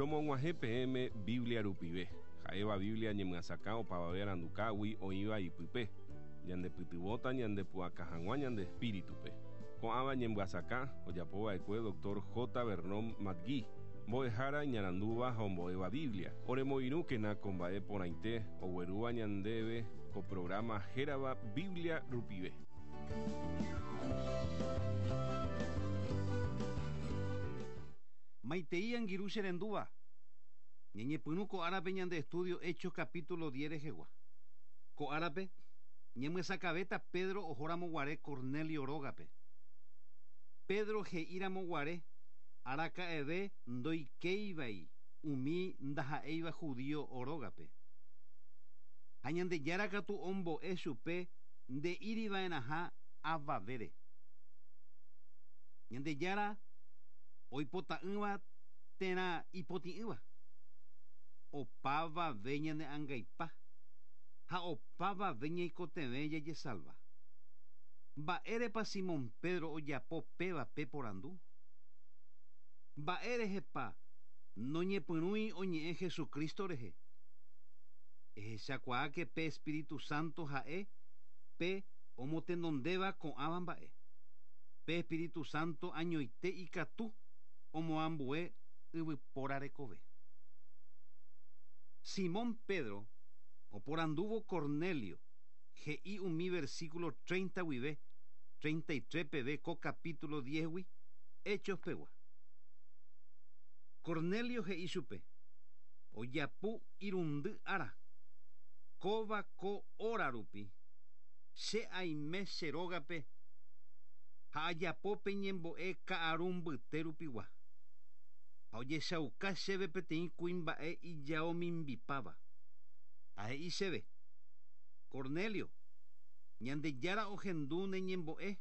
Romog̃uahẽ peẽme Biblia rupive, ha'éva Biblia ñemyasakã opavave arandukágui oĩva ipype, ñandepytyvõta ñandepu'aka hag̃ua ñande espíritupe. Ko'ãva ñemyasakã ojapova'ekue Doctor J. Vernon McGee, mbo'ehára iñarandúva ha ombo'éva Biblia. Oremoirũkena ko mba'e porãite oguerúva ñandéve ko programa hérava Biblia rupive. Maitei angirũ che rendúva, ñañepyrũ ko árape ñande estudio Hechos capítulo diez rehegua. Ko árape, ñamyesakãvéta Pedro ohóramo guare Cornelio rógape. Pedro he'íramo guare araka'eve ndoikéivai umi ndaha'éiva judío rógape. Ha Ñandejára katu ombo'e chupe nde'íriva'erãha avavére. Ñandejára oipota'ỹva térã ipotĩ'ỹva, opavave ñane angaipa ha opavave ñaikotevẽ jajesalva. Mba'érepa Simón Pedro ojapo péva pe porandu? Mba'érehepa noñepyrũi oñe'ẽ Jesucristo rehe? Ehechakuaáke pe Espíritu Santo ha'e pe omotenondéva ko'ãva mba'e. Pe Espíritu Santo añoite ikatu omoambue yvypóra rekove. Simón Pedro oporandúvo Cornelio he'i umi versículo 30 guive 33 peve ko capítulo 10-gui Hechos pegua. Cornelio he'i chupe, Ojapu irundy ára, kóva ko óra rupi, che aime che rógape ha ajapo pe ñembo'e ka'aru mbyte rupigua. Ha ojechauka chéve peteĩ kuimba'e ijao mimbipáva. Ha he'i chéve, Cornelio, Ñandejára ohendu ne ñembo'e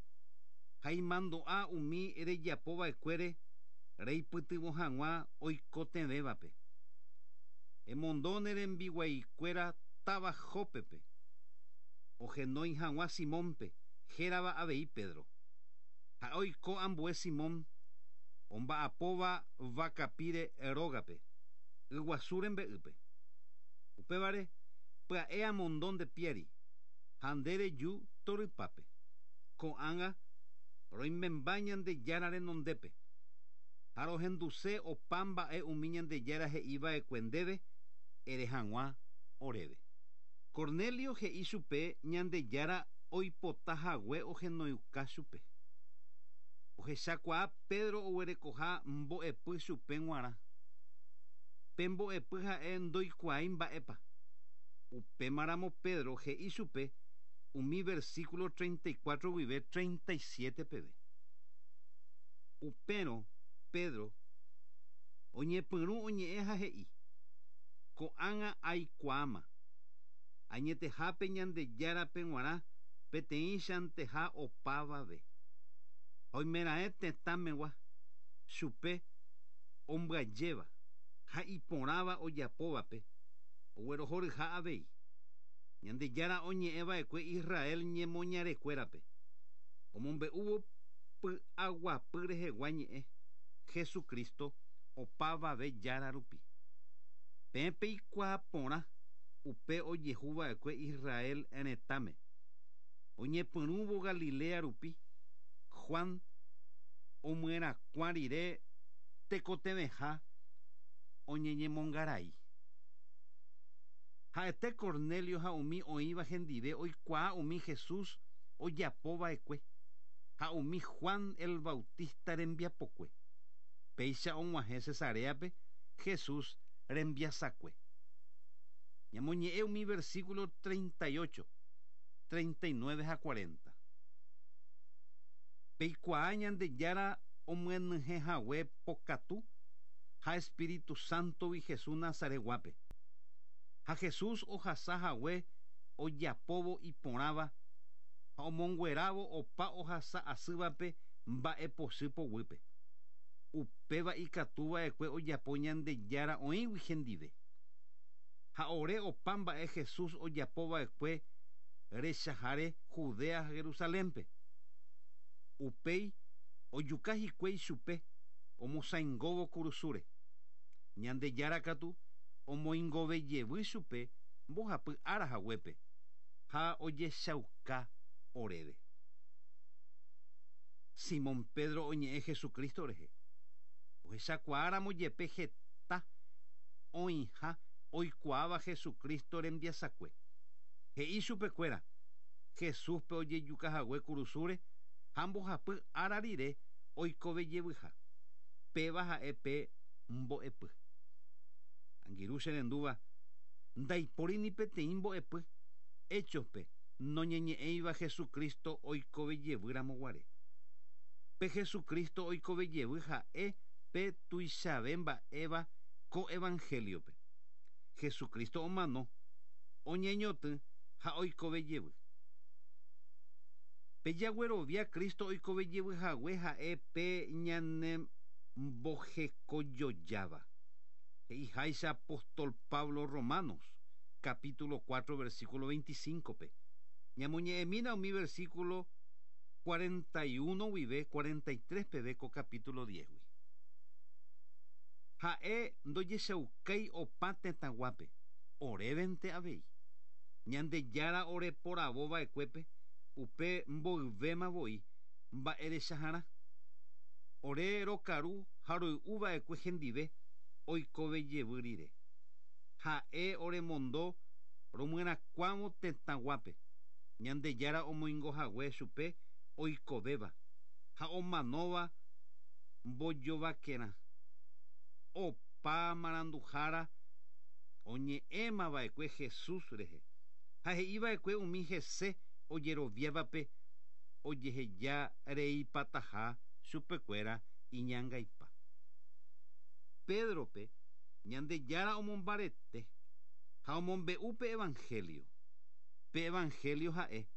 ha imandu'a umi rejapo va'ekuére reipytyvõ hag̃ua oikotevẽvape. Emondo ne rembiguaikuéra táva Jópepe, ohenói hag̃ua Simónpe, hérava avei Pedro. Ha'e oiko ambue Simón, omba'apóva vakapíre rógape, yguasu rembe'ýpe. Upévare, pya'e amondo nde piári, ha nde reju torypápe. Ko'ág̃a roimemba Ñandejára renondépe, ha rohenduse opa mba'e umi Ñandejára he'i va'ekue ndéve ere hag̃ua oréve. Cornelio he'i chupe Ñandejára oipota hague ohenoiuka chupe. Ohechakuaa Pedro oguerekoha mbo'epy chupe g̃uarã. Pe mbo'epy ha'e ndoikuaái mba'épa. Upémaramo Pedro he'i chupe umi versículo 34 guive 37 peve. Upérõ Pedro oñepyrũ oñe'ẽ ha he'i, Ko'ág̃a aikuaáma, añetehápe Ñandejárape g̃uarã peteĩchanteha opavave. Ha oimeraẽ tetãmegua, chupe ombyajéva ha iporãva ojapóvape, oguerohoryha avei. Ñandejára oñe'ẽ va'ekue Israel ñemoñarekuérape, omombe'úvo py'aguapy rehegua ñe'ẽ, Jesucristo opavave Jára rupi. Peẽ peikuaa porã upe ojehu va'ekue Israel retãme. Oñepyrũvo Galilea rupi, Juan omyerakuã rire tekotevẽha oñeñemongarai. Ha'ete Cornelio ha umi oĩva hendive oikuaa umi Jesús ojapo va'ekue ha umi Juan el Bautista rembiapokue. Péicha og̃uahẽ Cesaréape Jesús rembiasakue. Ñamoñe'ẽ umi versículo 38, 39 ha 40. Peikuaa Ñandejára omyenyhẽ hague pokatu ha Espíritu Sántogui Jesús Nazaretguápe. Ha Jesús ohasa hague ojapóvo iporãva ha omonguerávo opa ohasa asývape mba'epochy poguýpe. Upéva ikatu va'ekue ojapo Ñandejára oĩgui hendive. Ha ore opa mba'e Jesús ojapo va'ekue rechaháre Judea ha Jerusalénpe. Upéi ojuka hikuái chupe omosãingóvo kurusúre. Ñandejára katu omoingovejevy chupe mbohapy ára haguépe ha ojechauka oréve. Simón Pedro oñe'ẽ Jesucristo rehe. Ohechakuaáramo jepe heta oĩha oikuaáva Jesucristo rembiasakue. He'i chupekuéra, Jesúspe ojejukahague kurusúre ha mbohapy ára rire oikovejevyha. Péva ha'e pe mbo'epy. Angirũ che rendúva, ndaipóri ni peteĩ mbo'epy Hechos-pe noñeñe'ẽiva Jesucristo oikovejevy ramo guare. Pe Jesucristo oikovejevy ha'e pe tuichave mba'éva ko evangelio-pe. Jesucristo omano, oñeñotỹ ha oikovejevy. Pe jaguerovia Cristo oikovejevy hague ha'e pe ñanembohekojojáva. He'iháicha apóstol Pablo Romanos, capítulo 4, versículo 25-pe. Ñamoñe'ẽmína umi versículo 41 guive 43 peve ko capítulo 10-gui. Ha'e ndojechaukái opa tetãguápe, orévente avei. Ñandejára oreporavo va'ekuépe upe mboyvéma voi mba'erechaharã. Ore rokaru ha roy'u va'ekue hendive oikove jevy rire. Ha'e oremondo romyerakuãvo tetãguápe, Ñandejára omoingo hague chupe oikovéva ha omanóva mbojovakerã. Opa maranduhára oñe'ẽma va'ekue Jesús rehe ha he'i va'ekue umi hese ojeroviávape ojeheja reipataha chupekuéra iñangaipa. Pédrope Ñandejára omombarete ha omombe'u pe evangelio. Pe evangelio ha'e,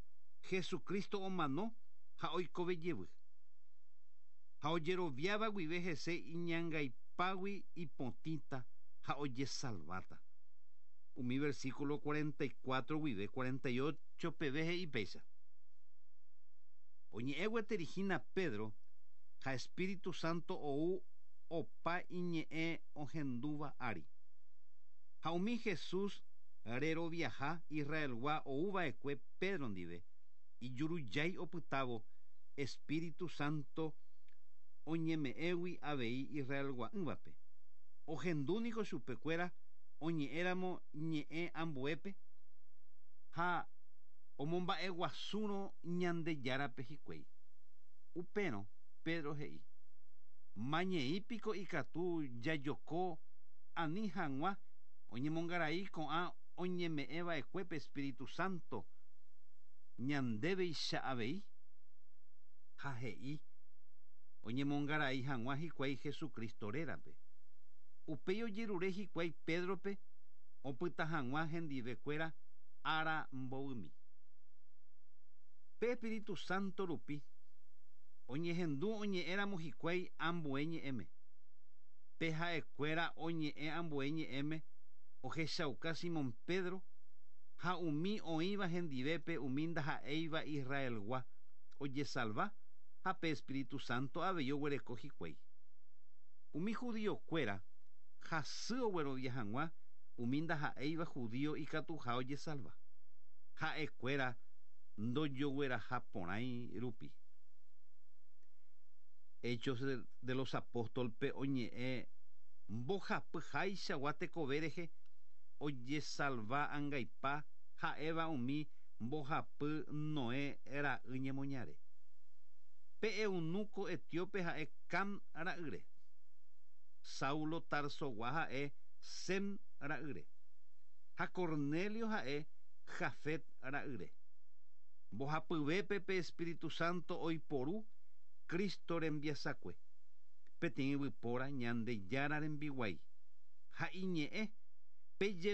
Jesucristo omano ha oikove jevy. Ha ojeroviáva guive hese iñangaipágui ipotĩta ha ojesalváta. Umi versículo 44 guive 48 peve he'i péicha. Oñe'ẽ gueteri hína Pedro ha Espíritu Santo ou opa iñe'ẽ ohendúva ári. Ha umi Jesús reroviaha Israelgua ou va'ekue Pedro ndive, ijurujái opytávo Espíritu Santo oñeme'ẽgui avei Israelgua'ỹvape. Ohendu niko chupekuéra oñe'ẽramo ñe'ẽ ambuépe ha omomba'eguasúrõ Ñandejárape hikuái. Upérõ Pedro he'i, Mañei piko ikatu jajoko ani hag̃ua oñemongarai ko'ã oñeme'ẽ va'ekuépe Espíritu Santo ñandéveicha avei? Ha he'i oñemongarai hag̃ua hikuái Jesucristo rérape. Upéi ojerure hikuái Pédrope opyta hag̃ua hendive kuéra ára mbovymi. Pe Espíritu Santo rupi oñehendu oñe'ẽramo hikuái ambue ñe'ẽme. Pe ha'ekuéra oñe'ẽ ambue ñe'ẽme ohechauka Simón Pedro ha umi oĩva hendivépe umi ndaha'éiva Israelgua ojesalva ha pe Espíritu Santo avei oguereko hikuái. Umi judío-kuéra hasy oguerovia hag̃ua umi ndaha'éiva judío ikatuha ojesalva, ha'ekuéra ndojogueraha porãi rupi. Hechos de los Apóstol-pe oñe'ẽ mbohapyháichagua tekove rehe ojesalva angaipa ha'éva umi mbohapy Noé ra'y ñemoñare. Pe eunuco etíope ha'e Cam ra'yre. Saulo Tarsogua ha'e Sem ra'yre. Ha Cornelio ha'e Jafet ra'yre. Mbohapyvépe pe Espíritu Santo oiporu Cristo rembiasakue, peteĩ yvypóra Ñandejára rembiguái, ha iñe'ẽ pe.